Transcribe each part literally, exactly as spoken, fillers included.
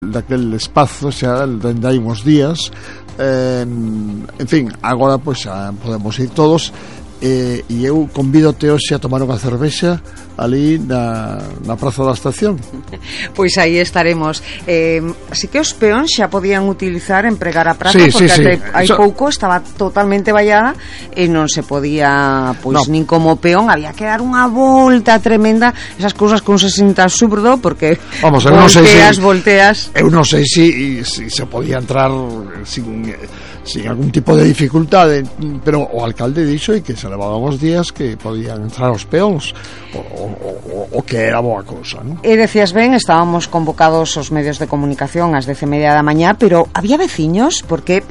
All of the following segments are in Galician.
daquel espazo xa dende hai uns días. Eh, en fin, agora pois xa podemos ir todos, eh, e eu convídote hoxe a tomar unha cervexa ali na, na Praza da Estación. Pois aí estaremos. Eh, así que os peóns xa podían utilizar empregar a praza, sí, porque sí, sí. hai Eso... pouco estaba totalmente vallada e non se podía, pois, no. nin como peón, había que dar unha volta tremenda, esas cousas que un se sinta absurdo, porque Vamos, volteas, non sei si, volteas. Eu non sei se si, si se podía entrar sin, sin algún tipo de dificultade, pero o alcalde dixo e que se levaban os días que podían entrar os peóns, o, o, o que era boa cousa, non? E decías ben, estábamos convocados os medios de comunicación ás dez e media da mañá, pero había veciños, porque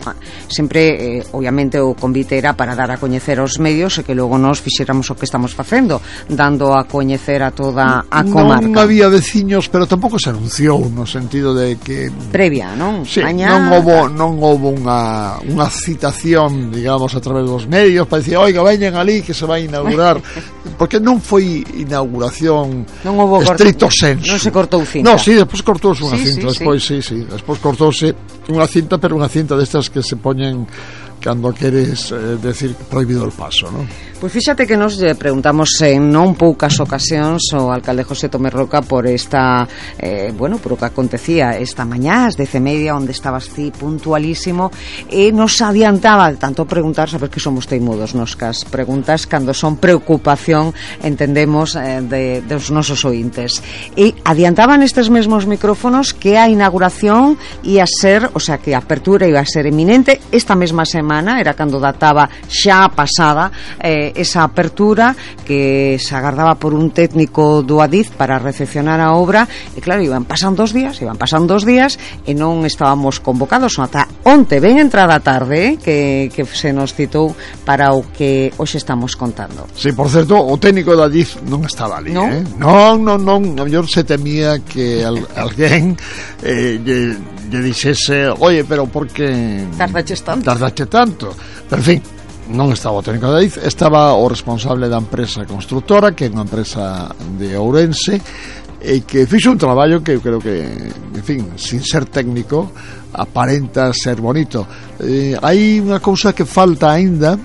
sempre, eh, obviamente, o convite era para dar a coñecer aos medios e que logo nos fixéramos o que estamos facendo, dando a coñecer a toda a comarca. Non había veciños, pero tampouco se anunciou no sentido de que previa, non? Sí, mañá... non houbo non houbo unha unha citación, digamos, a través dos medios para dicir, oiga, veñan ali que se vai a inaugurar, porque non foi inauguración non houbo estricto senso. Non se cortou cinta. No, sí, despois cortouse unha sí, cinta, sí, despois sí. sí, sí, despois cortouse unha cinta, pero unha cinta destas que se poñen cando queres eh, decir prohibido el paso, non? Pois fíxate que nos lle preguntamos en non poucas ocasións ao alcalde José Tomé Roca por esta, eh, bueno, por o que acontecía esta mañá, ás dez e media, onde estabas ti puntualísimo, e nos adiantaba de tanto preguntar, sabes que somos teimudos nos cas preguntas cando son preocupación, entendemos, eh, de, dos nosos ointes. E adiantaban estes mesmos micrófonos que a inauguración ia ser, o sea, que a apertura iba a ser eminente esta mesma semana, era cando databa xa pasada, eh, esa apertura que se agardaba por un técnico do Adif para recepcionar a obra, e claro, iban pasando os días iban pasando os días e non estábamos convocados ata onte, ben entrada a tarde, eh, que, que se nos citou para o que hoxe estamos contando. Sí, por certo, o técnico do Adif non estaba ali, ¿No? eh? Non, non, non, a mellor se temía que al, alguén eh, lle, lle dixese, oye, pero por que tardaches tanto? Tardache tanto. Pero, en fin, non estaba o técnico da Adif, estaba o responsable da empresa constructora, que é unha empresa de Ourense, e que fixo un traballo que eu creo que, en fin, sin ser técnico, aparenta ser bonito. Eh, hai unha cousa que falta aínda,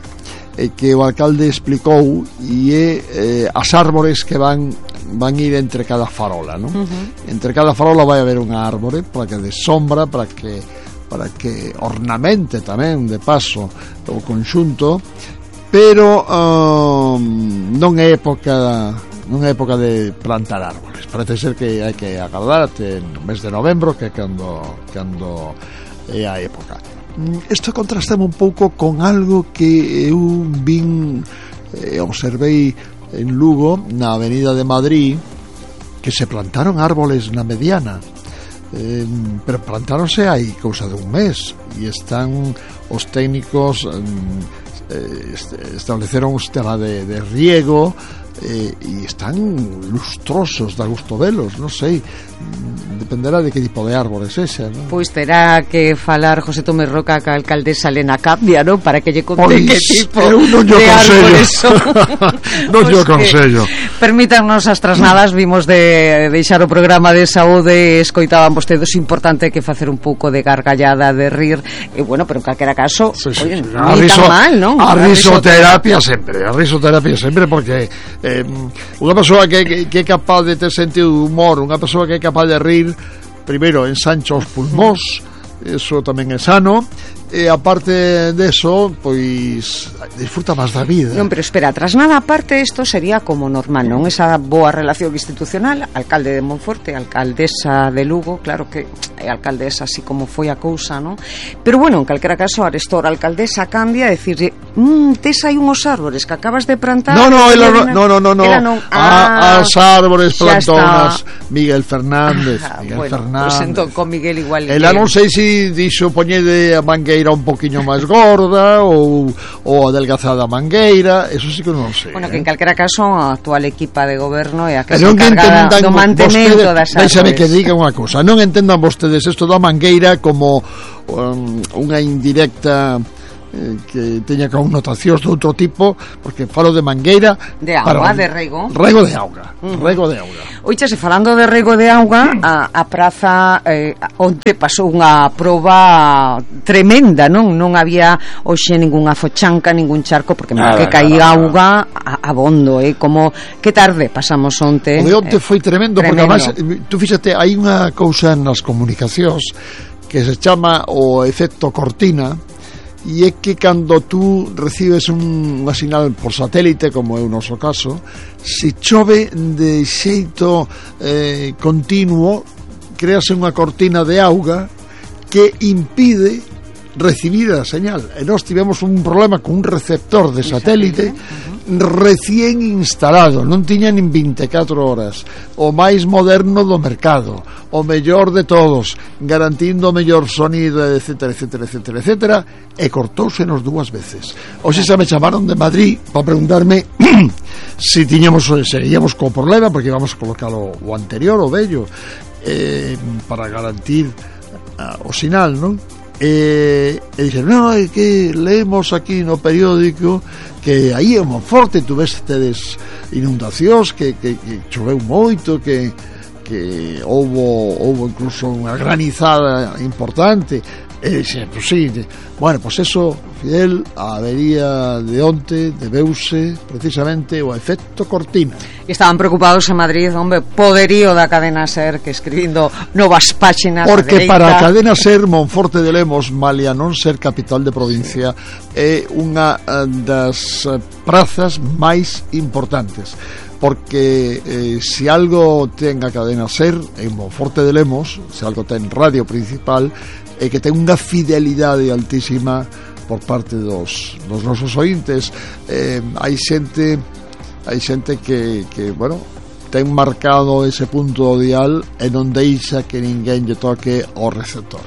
e que o alcalde explicou, e é eh, as árbores que van van ir entre cada farola, non? Uh-huh. Entre cada farola vai haber unha árbore para que de sombra, para que para que ornamente tamén de paso o conxunto, pero um, non é época non é época de plantar árboles. Parece ser que hai que agardar até no mes de novembro, que é cando, cando é a época. Isto contrastame un pouco con algo que eu vin e eh, observei en Lugo, na Avenida de Madrid, que se plantaron árboles na mediana. Eh, pero plantáronse hai cousa de un mes e están os técnicos eh, estableceron un sistema de, de riego eh, e están lustrosos, da gusto velos, non sei, dependerá de que tipo de árbores ese, non? Pois terá que falar José Tomé Roca ca alcaldesa Elena Capdia, non? Para que lle conte pois, que tipo eu non de árbores son. Non lle aconsello. Permítannos as trasnadas, vimos de deixar o programa de saúde, escoitaban vostedes, importante que facer un pouco de gargallada, de rir, e bueno, pero en calquera caso, sí, sí, oye, sí. non é tan mal, non? A risoterapia sempre, a risoterapia sempre, porque eh, unha persoa que, que, que é capaz de ter sentido de humor, unha persoa que é capaz de rir, primeiro ensancha os pulmóns, eso tamén é sano, e aparte deso, pois disfruta máis da vida. Non, pero espera, tras nada aparte, isto sería como normal, non? Esa boa relación institucional, alcalde de Monforte, alcaldesa de Lugo, claro que é alcaldesa así como foi a cousa, non? Pero bueno, en calquera caso, arestora a alcaldesa cambia a decirle, mmm, tes aí unhos árbores que acabas de plantar. No, no, ela no, no, no, no. non. Ah, as árbores plantonas Miguel Fernández, ah, Miguel bueno, Fernández. Pues entón con Miguel igual. Ela non sei se dixo poñede a mangueira un poquinho máis gorda ou, ou adelgazada a mangueira, eso sí que non sei. Bueno, eh? que en calquera caso a actual equipa de goberno é a que se non encarga do mantemento vostede, das árbores. Déxame que diga unha cousa, non entendan vostedes isto da mangueira como um, unha indirecta eh, que teña connotacións de outro tipo, porque falo de mangueira de auga, para, de rego rego de auga, uh-huh. rego de auga. Oiche, falando de rego de auga, a, a praza eh, onte pasou unha proba tremenda, non? Non había hoxe ningunha fochanca, ningún charco, porque nada, que caía nada, auga nada. A, a bondo, eh? Como que tarde pasamos onte. O de onte eh, foi tremendo, tremendo, porque además, tú fíxate, hai unha cousa nas comunicacións que se chama o efecto cortina, e é que cando tú recibes un, unha sinal por satélite, como é o noso caso, se chove de xeito eh, continuo, créase unha cortina de auga que impide recibir a señal. E nós tivemos un problema con un receptor de satélite recién instalado, non tiña nin vinte e catro horas, o máis moderno do mercado, o mellor de todos, garantindo o mellor sonido, etcétera, etcétera, etcétera, etcétera, e cortóusenos dúas veces. Hoxe xa me chamaron de Madrid para preguntarme se si tiñamos, seguíamos co problema, porque íbamos a colocar o, o anterior, o vello, eh, para garantir uh, o sinal, non? E, e dixeron, non, é que leemos aquí no periódico que aí é moi forte, tu ves tedes inundacións, que, que, que choveu moito, que, que houbo, houbo incluso unha granizada importante. E dixe, pues sí, bueno, pues eso, Fidel, a avería de onte debeuse precisamente o efecto cortina. Estaban preocupados en Madrid, hombre, poderío da cadena SER, que escribindo novas páxinas. Porque para a cadena SER, Monforte de Lemos, malia non ser capital de provincia, é unha das prazas máis importantes, porque eh, se algo ten a cadena SER en Monforte de Lemos, se algo ten radio principal, e que ten unha fidelidade altísima por parte dos, dos nosos ointes. Eh, hai xente hai xente que, que, bueno, ten marcado ese punto do dial e non deixa que ninguén lle toque o receptor.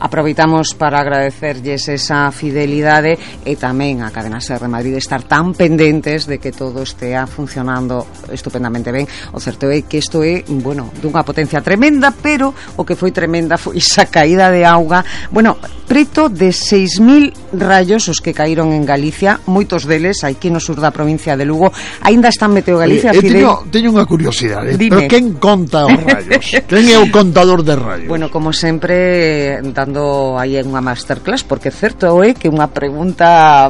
Aproveitamos para agradecerlles esa fidelidade e tamén a Cadena SER de Madrid estar tan pendentes de que todo estea funcionando estupendamente ben. O certo é que isto é, bueno, dunha potencia tremenda, pero o que foi tremenda foi esa caída de auga. Bueno, preto de seis mil rayos os que caíron en Galicia, moitos deles aquí no sur da provincia de Lugo. Aínda están Meteo Galicia, Oye, Fidel. Teño, teño unha curiosidade, Dime. Pero quen conta os rayos? Quen é o contador de rayos? Bueno, como sempre, dando aí unha masterclass, porque certo é que unha pregunta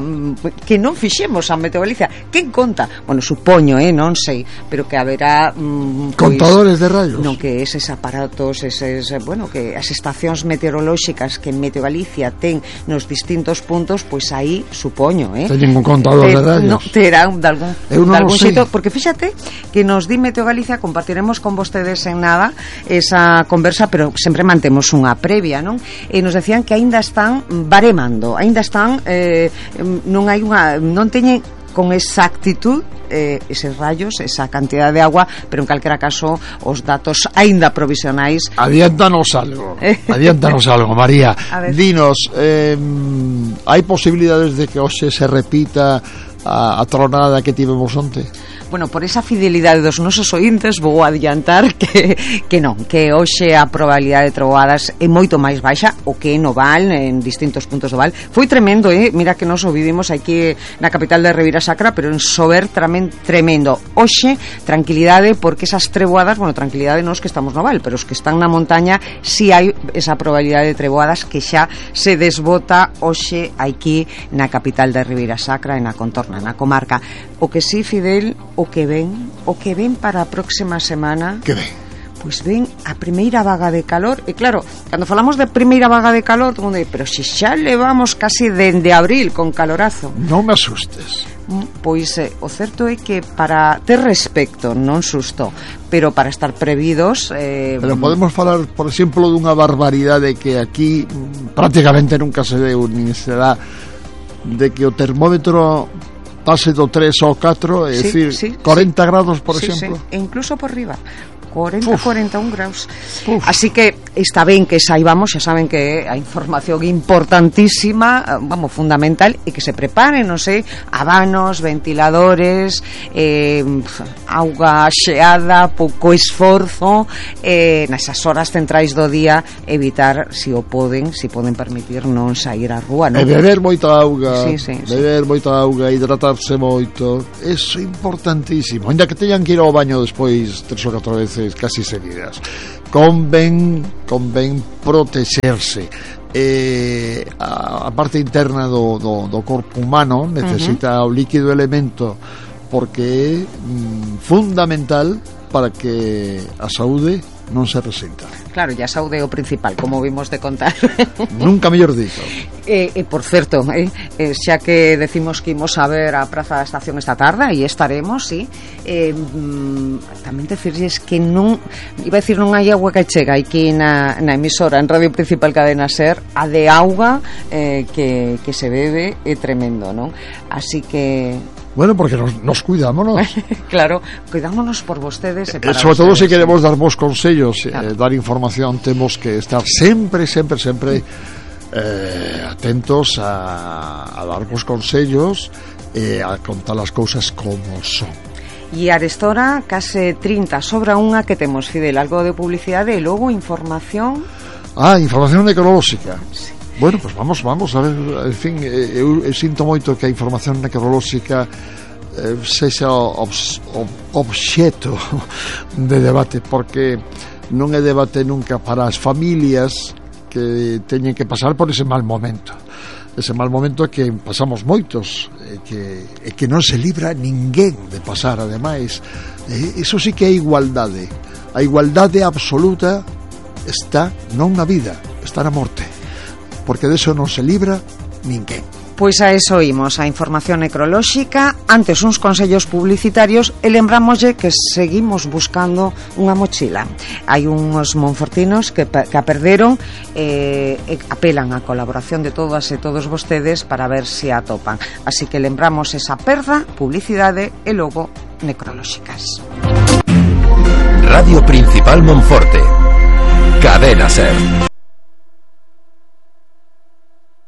que non fixemos a Meteo Galicia, quen conta? Bueno, supoño, eh, non sei, pero que haberá mm, pois, contadores de rayos. Non, que eses aparatos, eses, bueno, que as estacións meteorolóxicas que en Meteo Galicia ten nos distintos puntos, pois aí supoño, eh. Teñen un contador eh, de rayos. No, terán de algún, Eu non de algún xeito, porque fíxate que nos di Meteo Galicia, compartiremos con vostedes en nada esa conversa, pero sempre mantemos unha previa, non? E nos decían que aínda están baremando, aínda están eh, non hai unha, non teñen con exactitud eh, eses rayos, esa cantidad de agua, pero en calquera caso os datos aínda provisionais. Adiántanos algo, adiántanos algo, María. Dinos, eh, hai posibilidades de que hoxe se repita a, a tronada que tivemos onte? Bueno, por esa fidelidade dos nosos ointes vou adiantar que, que non, que hoxe a probabilidade de trovoadas é moito máis baixa, o que no Val, en distintos puntos do Val. Foi tremendo, eh? Mira que nos o vivimos aquí na capital de Ribeira Sacra, pero en Sober tamén tremendo. Hoxe, tranquilidade, porque esas treboadas, bueno, tranquilidade non os que estamos no Val, pero os que están na montaña, si hai esa probabilidade de treboadas que xa se desbota hoxe aquí na capital de Ribeira Sacra, e na contorna, na comarca. O que sí, Fidel, o que ven, o que ven para a próxima semana. Que ven? Pois ven a primeira vaga de calor. E claro, cando falamos de primeira vaga de calor, todo mundo di, pero se xa levamos casi dende abril con calorazo. Non me asustes. Pois eh, o certo é que para ter respecto, non susto, pero para estar previdos eh, pero podemos falar, por exemplo, dunha barbaridade que aquí prácticamente nunca se deu, nin será, de que o termómetro pase do tres ao catro, é sí, dicir, sí, corenta sí. grados, por sí, exemplo. Sí. E incluso por riba. cuarenta, cuarenta y un graus. Uf. Así que está ben que saibamos, xa saben que a información importantísima, vamos, fundamental, e que se preparen, non sei, abanos, ventiladores, eh, auga xeada, pouco esforzo, eh, nesas horas centrais do día, evitar, se si o poden, se si poden permitir, non sair á rúa, non? E beber moita auga, sí, sí, beber sí. moita auga, hidratarse moito, eso é importantísimo, ainda que teñan que ir ao baño despois tres ou catro veces casi seguidas. Convén, convén protexerse. Eh, a, a parte interna do, do, do corpo humano necesita uh-huh. o líquido elemento porque é mm, fundamental para que a saúde non se resenta. Claro, ya saúde é o principal, como vimos de contar. Nunca mellor dito. E, eh, por certo, eh, eh, xa que decimos que imos a ver a Praza da Estación esta tarde, e estaremos, sí, eh, mm, tamén decirles que non, iba a decir, non hai agua que chega aquí na, na emisora, en Radio Principal Cadena Ser, a de auga eh, que, que se bebe é tremendo, non? Así que... Bueno, porque nos, nos cuidámonos. Claro, cuidámonos por vostedes. Eh, sobre todo se si queremos dar vos consellos, claro. eh, dar información, temos que estar sempre, sempre, sempre eh, atentos a, a dar vos consellos e eh, a contar as cousas como son. E arestora case trinta sobra unha que temos, Fidel, algo de publicidade e logo información. Ah, información necrolóxica. Sí. Bueno, pues vamos, vamos a ver, en fin, eu, eu sinto moito que a información necrolóxica eh, sexa obs, ob, obxeto de debate, porque non é debate nunca para as familias que teñen que pasar por ese mal momento. Ese mal momento que pasamos moitos, e que, e que non se libra ninguén de pasar, ademais. E iso sí que é igualdade. A igualdade absoluta está non na vida, está na morte, porque de eso non se libra ninguén. Pois a eso imos, a información necrolóxica, antes uns consellos publicitarios e lembrámoslle que seguimos buscando unha mochila. Hai uns monfortinos que, que a perderon e eh, apelan a colaboración de todas e todos vostedes para ver se a atopan. Así que lembramos esa perda, publicidade e logo necrolóxicas. Radio Principal Monforte, Cadena Ser.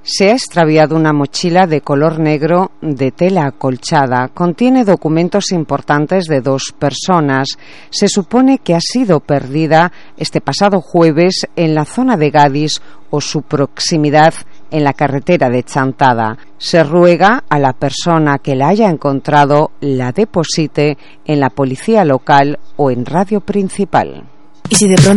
Se ha extraviado una mochila de color negro de tela acolchada. Contiene documentos importantes de dos personas. Se supone que ha sido perdida este pasado jueves en la zona de Gadis o su proximidad en la carretera de Chantada. Se ruega a la persona que la haya encontrado la deposite en la policía local o en Radio Principal. ¿Y si de pronto